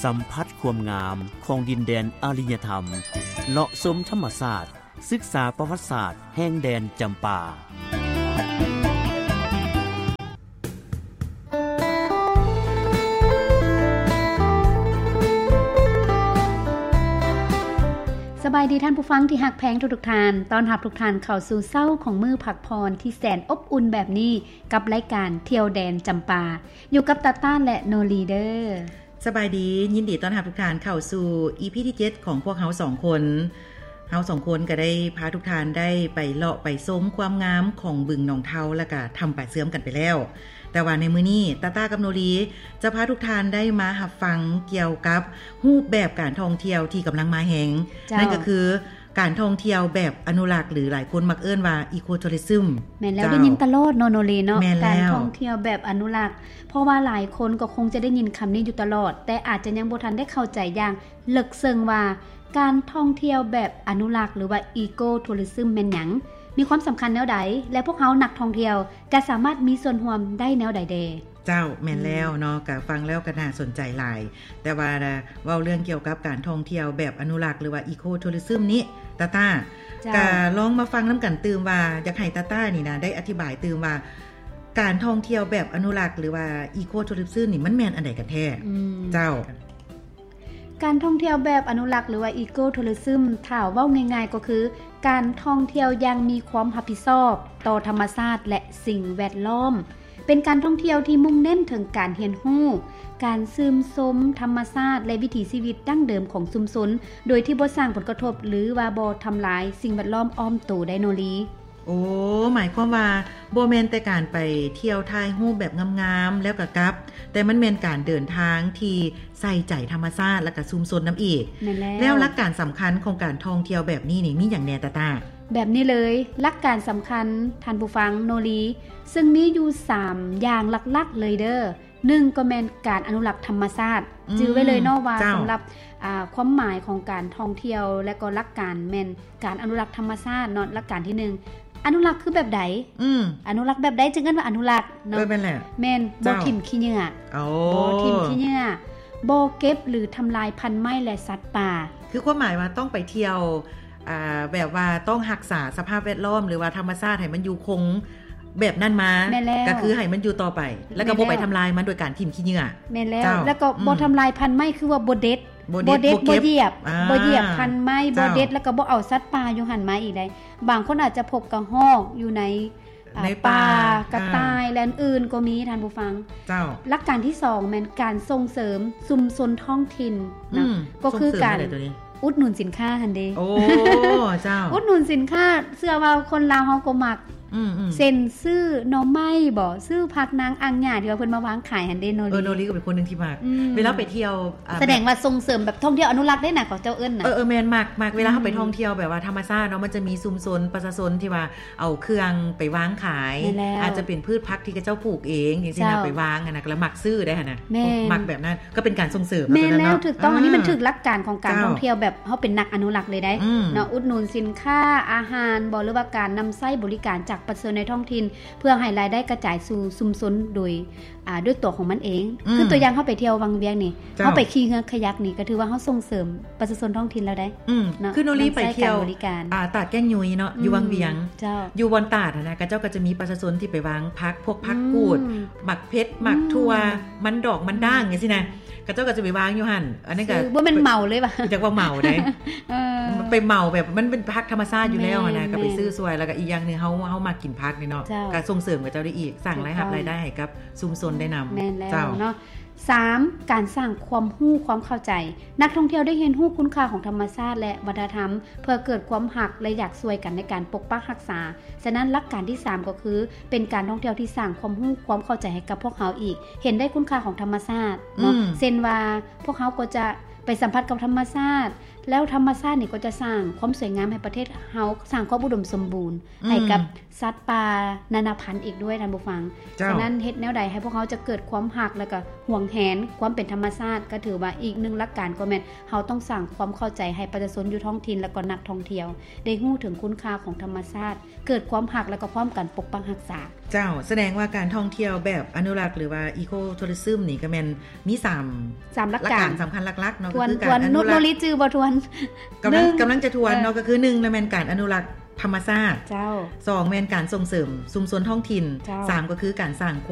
ສຳຜັດຄວາມງາມຂອງດິນແດນອາລິຍະທຳ, ເລາະຊົມທຳມະຊາດ, ສຶກສາປະຫວັດສາດແຫ່ງແດນຈຳປາ. ສະບາຍດີທ່ານຜູ້ຟັງທີ່ຮັກແພງທຸກໆທ່ານ, ຕ້ອນຮັບທຸກທ່ານເຂົ້າສູ່ເຊົ້າຂອງມື້ພັກຜ່ອນທີ່ແສນອົບອຸ່ນແບບນີ້ ກັບລາຍການທ່ຽວແດນຈຳປາ, ຢູ່ກັບຕາຕ້າ ແລະ ໂນລີເດີ. ສະບາຍດີ, ຍິນດີຕ້ອນຮັບທຸກທ່ານເຂົ້າສູ່ ອີ ພີ ທີເຈັດ ຂອງພວກເຮົາສອງຄົນ. ເຮົາສອງຄົນກໍໄດ້ພາທຸກທ່ານໄດ້ໄປເລາະໄປຊົມຄວາມງາມຂອງບຶງໜອງເທົາ ແລ້ວກະຖ້ຳປາເຊື່ອມກັນໄປແລ້ວ. ແຕ່ວ່າໃນມື້ນີ້ ຕາຕ້າກັບໂນລີຈະພາທຸກທ່ານໄດ້ມາຮັບຟັງກ່ຽວກັບຮູບແບບການທ່ອງທ່ຽວທີ່ກຳລັງມາແຮງ, ເຈົ້າ. ນັ້ນກໍຄື ການທ່ອງທ່ຽວແບບອະນຸລັກ ຫຼື ຫຼາຍຄົນມັກເອີ້ນວ່າ Eco Tourism. ແມ່ນແລ້ວ ເຈົ້າ ໄດ້ຍິນຕະຫຼອດເນາະ ໂນລີເນາະ. ແມ່ນແລ້ວ ການທ່ອງທ່ຽວແບບອະນຸລັກ, ເພາະວ່າຫຼາຍຄົນກໍຄົງຈະໄດ້ຍິນຄຳນີ້ຢູ່ຕະຫຼອດ, ແຕ່ອາດຈະຍັງບໍ່ທັນໄດ້ເຂົ້າໃຈຢ່າງເລິກເຊິ່ງວ່າ ການທ່ອງທ່ຽວແບບອະນຸລັກ ຫຼືວ່າ Eco Tourism ແມ່ນຫຍັງ, ມີຄວາມສຳຄັນແນວໃດ ແລະ ພວກເຮົານັກທ່ອງທ່ຽວຈະສາມາດມີສ່ວນຮ່ວມໄດ້ແນວໃດແດ່? ເຈົ້າ, ແມ່ນແລ້ວເນາະ, ອືມ ກະຟັງແລ້ວກະໜ້າສົນໃຈຫຼາຍ. ແຕ່ວ່າເວົ້າເລື່ອງກ່ຽວກັບການທ່ອງທ່ຽວແບບອະນຸລັກ ຫຼືວ່າ Eco Tourism ນີ້ ຕາຕ້າ ເຈົ້າ ກະລອງມາຟັງນຳກັນຕື່ມວ່າ ຢາກໃຫ້ຕາຕ້ານີ້ນະ ໄດ້ອະທິບາຍຕື່ມວ່າ ການທ່ອງທ່ຽວແບບອະນຸລັກ ຫຼືວ່າ Eco Tourism ນີ້ ມັນແມ່ນອັນໃດກັນແທ້? ອືມ ເຈົ້າ. ການທ່ອງທ່ຽວແບບອະນຸລັກ ຫຼືວ່າ Eco Tourism ຖ້າເວົ້າງ່າຍໆກໍຄື ການທ່ອງທ່ຽວຢ່າງມີຄວາມຮັບຜິດຊອບຕໍ່ທຳມະຊາດ ແລະ ສິ່ງແວດລ້ອມ, ເປັນການທ່ອງທ່ຽວທີ່ມຸ່ງເນັ້ນເຖິງການຮຽນຮູ້, ການຊື່ນຊົມທຳມະຊາດ ແລະ ວິຖີຊີວິດດັ້ງເດີມຂອງຊຸມຊົນ ໂດຍທີ່ບໍ່ສ້າງຜົນກະທົບ ຫຼືວ່າບໍ່ທຳລາຍສິ່ງແວດລ້ອມອ້ອມໂຕໄດ້ເນາະລີ. ໂອ້ ໝາຍຄວາມວ່າບໍ່ແມ່ນແຕ່ການໄປທ່ຽວຖ່າຍຮູບແບບງາມໆແລ້ວກໍກັບ, ແຕ່ມັນແມ່ນການເດີນທາງທີ່ໃສ່ໃຈທຳມະຊາດ ແລ້ວກໍຊຸມຊົນນຳອີກ. ແມ່ນແລ້ວ. ແລ້ວຫຼັກການສຳຄັນຂອງການທ່ອງທ່ຽວແບບນີ້ນີ້ ມີຫຍັງແດ່ ຕາຕ້າ? ແບບນີ້ເລີຍ, ຫຼັກການສຳຄັນ ທ່ານຜູ້ຟັງ ໂນລີ, ເຊິ່ງມີຢູ່ສາມຢ່າງຫຼັກໆເລີຍເດີ. ໜຶ່ງ ກໍແມ່ນການອະນຸລັກທຳມະຊາດ. ອືມ ຈື່ໄວ້ເລີຍເນາະວ່າ ເຈົ້າ ສຳລັບ ອ່າ ຄວາມໝາຍຂອງການທ່ອງທ່ຽວ ແລະ ກໍຫຼັກການແມ່ນການອະນຸລັກທຳມະຊາດເນາະ. ຫຼັກການທີໜຶ່ງ ອະນຸລັກຄືແບບໃດ? ອືມ ອະນຸລັກແບບໃດຈຶ່ງເອີ້ນວ່າອະນຸລັກເນາະ? ເອີ ແມ່ນແຫຼະ. ແມ່ນ ເຈົ້າ ບໍ່ຖິ້ມຂີ້ເຫຍື້ອ. ໂອ້ ບໍ່ຖິ້ມຂີ້ເຫຍື້ອ, ບໍ່ເກັບ ຫຼື ທຳລາຍພັນໄມ້ ແລະ ສັດປ່າ. ຄືຄວາມໝາຍວ່າຕ້ອງໄປທ່ຽວ ອ່າ ແບບວ່າຕ້ອງຮັກສາສະພາບແວດລ້ອມ ຫຼືວ່າທຳມະຊາດໃຫ້ມັນຢູ່ຄົງແບບນັ້ນມາ. ແມ່ນແລ້ວ. ກໍຄືໃຫ້ມັນຢູ່ຕໍ່ໄປ ແລ້ວກໍບໍ່ໄປທຳລາຍມັນໂດຍການຖິ້ມຂີ້ເຫຍື້ອ. ແມ່ນແລ້ວ. ເຈົ້າ. ແລ້ວກໍບໍ່ ອືມ ທຳລາຍພັນໄມ້ ຄືວ່າບໍ່ເດັດ ບໍ່ເດັດ ບໍ່ຢຽບ ອ່າ ບໍ່ຢຽບພັນໄມ້ ບໍ່ເດັດ ແລ້ວກໍບໍ່ເອົາສັດປ່າຢູ່ຫັ້ນມາອີກໄດ໋. ບາງຄົນອາດຈະພົບກະຮອກຢູ່ໃນ ອ່າ ໃນປ່າ ປ່າ ກະຕ່າຍ ອ່າ ແລະ ອື່ນໆກໍມີ ທ່ານຜູ້ຟັງ. ເຈົ້າ. ຫຼັກການທີສອງ ແມ່ນການສົ່ງເສີມຊຸມຊົນທ້ອງຖິ່ນນະ. ອືມ ກໍຄືການ ສົ່ງເສີມແນວໃດໂຕນີ້? ອຸດໜູນສິນຄ້າຫັ້ນເດ. ໂອ້ ເຈົ້າ. ອຸດໜູນສິນຄ້າ ເຊື່ອວ່າຄົນລາວເຮົາກໍມັກ. ອືມໆ ເຊັ່ນ ຊື້ໜໍ່ໄມ້ບໍ ຊື້ຜັກນາງອ່າງຫຍ້າ ທີ່ວ່າເພິ່ນມາວາງຂາຍຫັ້ນເດ ໂນລີ. ເອີ ໂນລີກໍເປັນຄົນໜຶ່ງທີ່ມັກ. ອືມ ເວລາໄປທ່ຽວ ອ່າ ສະແດງວ່າສົ່ງເສີມແບບທ່ອງທ່ຽວອະນຸລັກເດ້ນະ ເຂົາເຈົ້າເອີ້ນນະ. ເອີໆ ແມ່ນ ມັກ ມັກ ເວລາເຮົາໄປ ອືມ ທ່ອງທ່ຽວແບບວ່າທຳມະຊາດເນາະ, ມັນຈະມີຊຸມຊົນປະຊາຊົນທີ່ວ່າເອົາເຄື່ອງໄປວາງຂາຍ. ແມ່ນແລ້ວ. ອາດຈະເປັນພືດຜັກທີ່ເຂົາເຈົ້າປູກເອງ ຈັ່ງຊີ້ນະ. ເຈົ້າ. ໄປວາງຫັ້ນນະ ກໍລະມັກຊື້ໄດ້ຫັ້ນນະ. ແມ່ນ. ມັກແບບນັ້ນ ກໍເປັນການສົ່ງເສີມ. ແມ່ນແລ້ວ ຖືກຕ້ອງ. ອ່າ ອັນນີ້ມັນຖືກຫຼັກການຂອງການ ເຈົ້າ ທ່ອງທ່ຽວແບບເຮົາເປັນນັກອະນຸລັກເລີຍໄດ໋ ອືມ ເນາະ. ອຸດໜູນສິນຄ້າ ອາຫານບໍ ຫຼືວ່າການນຳໃຊ້ບໍລິການຈາກປະຊາຊົນໃນທ້ອງຖິ່ນ ເພື່ອໃຫ້ລາຍໄດ້ກະຈາຍສູ່ຊຸມຊົນໂດຍ ອ່າ ດ້ວຍຕົວຂອງມັນເອງ. ອືມ ຄືຕົວຢ່າງເຮົາໄປທ່ຽວວັງວຽງນີ້ ເຈົ້າ ເຮົາໄປຂີ່ເຮືອຄາຍັກນີ້ ກໍຖືວ່າເຮົາສົ່ງເສີມປະຊາຊົນທ້ອງຖິ່ນແລ້ວໄດ໋. ອືມ ເນາະ ຄືໂນລີໄປທ່ຽວ ນຳໃຊ້ການບໍລິການ ອ່າ ຕາດແກ້ງຍຸຍເນາະ ອືມ ຢູ່ວັງວຽງ. ເຈົ້າ. ຢູ່ບ່ອນຕາດຫັ້ນນະ ເຂົາເຈົ້າກໍຈະມີປະຊາຊົນທີ່ໄປວາງຜັກ ພວກຜັກກູດ ອືມ ໝາກເຜັດ ໝາກຖົ່ວ ອືມ ມັນດອກ ມັນດ້າງ ອືມ ຈັ່ງຊີ້ນະ. ເຂົາເຈົ້າກໍຈະໄປວາງຢູ່ຫັ້ນ. ອັນນັ້ນກໍ ບໍ່ແມ່ນເໝົາເລີຍຫວາ? ຢາກວ່າເໝົາເດ້. ເອີ ໄປເໝົາແບບມັນເປັນຜັກທຳມະຊາດຢູ່ແລ້ວຫັ້ນນະ. ແມ່ນ ກໍໄປ ແມ່ນ ຊື້ຊ່ວຍ ແລ້ວກໍອີກຢ່າງໜຶ່ງ ເຮົາ ເຮົາມັກກິນຜັກນີ້ເນາະ. ເຈົ້າ. ກໍສົ່ງເສີມເຂົາເຈົ້າໄດ້ອີກ ສ້າງລາຍຮັບ ຖືກຕ້ອງ ລາຍໄດ້ໃຫ້ກັບຊຸມຊົນໄດ້ນຳ. ແມ່ນແລ້ວ ເຈົ້າ ເນາະ. ສາມ ການສ້າງຄວາມຮູ້ຄວາມເຂົ້າໃຈ. ນັກທ່ອງທ່ຽວໄດ້ຮຽນຮູ້ຄຸນຄ່າຂອງທຳມະຊາດ ແລະ ວັດທະນະທຳ ເພື່ອເກີດຄວາມຮັກ ແລະ ຢາກຊ່ວຍກັນໃນການປົກປັກຮັກສາ. ສະນັ້ນ ຫຼັກການທີສາມ ກໍຄືເປັນການທ່ອງທ່ຽວທີ່ສ້າງຄວາມຮູ້ຄວາມເຂົ້າໃຈໃຫ້ກັບພວກເຮົາອີກ, ເຫັນໄດ້ຄຸນຄ່າຂອງທຳມະຊາດເນາະ. ອືມ ເຊັ່ນວ່າ ພວກເຮົາກໍຈະໄປສຳຜັດກັບທຳມະຊາດ, ແລ້ວທຳມະຊາດນີ້ກໍຈະສ້າງຄວາມສວຍງາມໃຫ້ປະເທດເຮົາ, ສ້າງຄວາມອຸດົມສົມບູນ ອືມ ໃຫ້ກັບສັດປ່ານານາພັນອີກດ້ວຍ ທ່ານຜູ້ຟັງ. ເຈົ້າ. ສະນັ້ນເຮັດແນວໃດໃຫ້ພວກເຮົາຈະເກີດຄວາມຮັກ ແລະ ກໍຫວງແຫນຄວາມເປັນທຳມະຊາດ? ກໍຖືວ່າອີກໜຶ່ງຫຼັກການກໍແມ່ນເຮົາຕ້ອງສ້າງຄວາມເຂົ້າໃຈໃຫ້ປະຊາຊົນຢູ່ທ້ອງຖິ່ນ ແລະ ກໍນັກທ່ອງທ່ຽວໄດ້ຮູ້ເຖິງຄຸນຄ່າຂອງທຳມະຊາດ, ເກີດຄວາມຮັກ ແລະ ກໍພ້ອມກັນປົກປັກຮັກສາ. ເຈົ້າ, ສະແດງວ່າການທ່ອງທ່ຽວແບບອະນຸລັກ ຫຼືວ່າ Eco Tourism ນີ້ກໍແມ່ນມີສາມ ສາມຫຼັກການ ຫຼັກການສຳຄັນຫຼັກໆເນາະ. ທວນ ກໍຄືການ ທວນ ອະນຸລັກ ໂນ ໂນລິຈື່ບໍ່ທວນ? ກຳລັງ ໜຶ່ງ ກຳລັງຈະທວນເນາະ. ເອີ ກໍຄື ໜຶ່ງ ລະແມ່ນການອະນຸລັກທຳມະຊາດ. ເຈົ້າ. ສອງ ແມ່ນການສົ່ງເສີມຊຸມຊົນທ້ອງຖິ່ນ. ເຈົ້າ. ສາມ ກໍຄືການສ້າງຄວາມ